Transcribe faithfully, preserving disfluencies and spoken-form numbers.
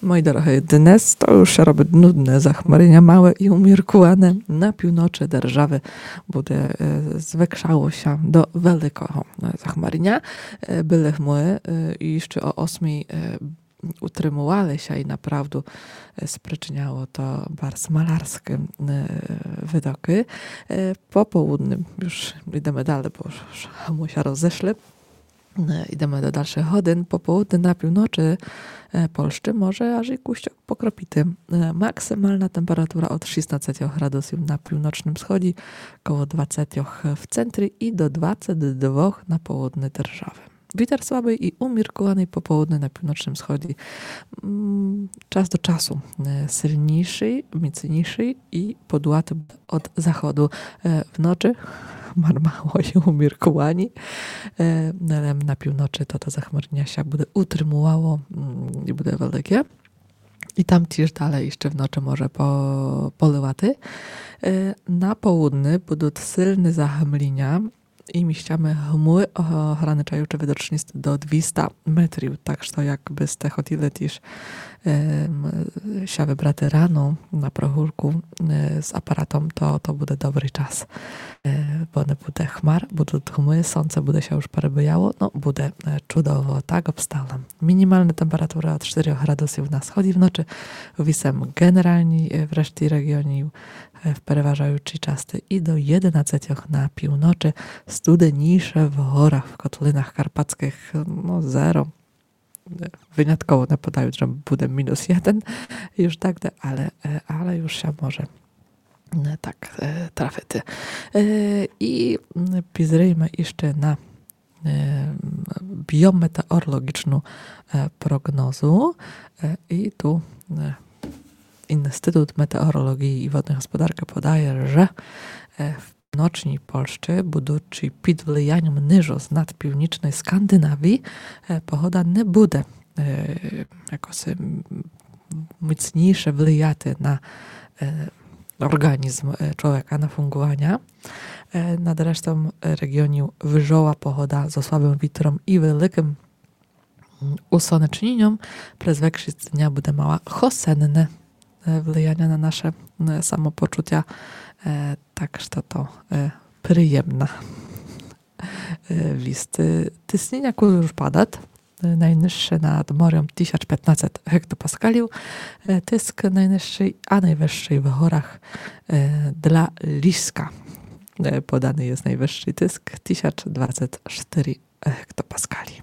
Мої дорогы, днес то юж ся робит нудне захмариня, мале і уміркуване. На півночы державы буде, е, звекшало ся до великого, е, захмариня. Е, были хмуры, е, і іщы о осьмій, е, утримували ся і направду, е, спричыняло то барз малярскы, е, видокы. Е, по поудню юж ідеме дале, бо юж хмуры ся розешли. Е, ідеме до дальшых годин. По поудню на півночы, е, Польщы може аж і кусьок покропити. Е, максимална температура од шістнадцятьох градусів на півночным сході, коло двадцятьох в центрі і до двадцят двох на поудню державы. Вітер слабый і уміркуваный по поудню на півночным сході. М, час до часу, е, сильнійшый, міцнійшый і подувати буде од заходу. Е, вночы хмар мало і уміркувані. Е, але на півночы то, то захмариня ся буде утримувало, м, і буде велике. І там тіж дале іщы вночы може по-, поливати. Е, на поудню будут сильны захмаріня і місцями хмуры, о-, ограничаючы видочность до двіста метрів. Так што якбы сте хотіли тіж, ем, ся выбрати рано на прогулку, е, з апаратом, то, то буде добрый час. Е, бо не буде хмар, будут хмуры, сонце буде ся юж перебияло, но, буде, е, чудово, так обстала. Мінімална температура од штырьох градусів на сході вночы, вісем ґенералні, е, в решті реґіонів, е, в переважаючій части і до єдинадцятьох на півночы, студенійше в горах, в котлинах карпатскых, но, зеро. Е, вынятково не подают, же буде мінус єден, юж так де, але, е, але юж ся може, е, так, е, трафити. Е, і, м, пізрийме іщы на, е, біометеоролоґічну, е, проґнозу. Е, і ту, е, Інститут метеоролоґії і водной господаркы подає, же, е, в півночній Польщы, будучы під влияньом ниже над північною Скандинавією, е, погода не буде, е, якоси, м, міцнійше влияти на, е, орґанізм, е, чловека, на фунґуваня. Е, над рештом, е, реґіонів выжола погода зо слабым вітром і великым, м, усонечніньом. През векшіст дня буде мала хосенне, е, влияня на наше, е, самопочутя. Е, так што то, е, приємна, е, віст. Е, тисніня кулі юж падат. Е, найнижше над морьом тисяч пятнадцет гектопаскалів, е, тиск найнижшый, а найвышшый в горах, е, для Ліска. Е, поданы єст найвышшый тиск, тисяч двадцет штыри гектопаскалі.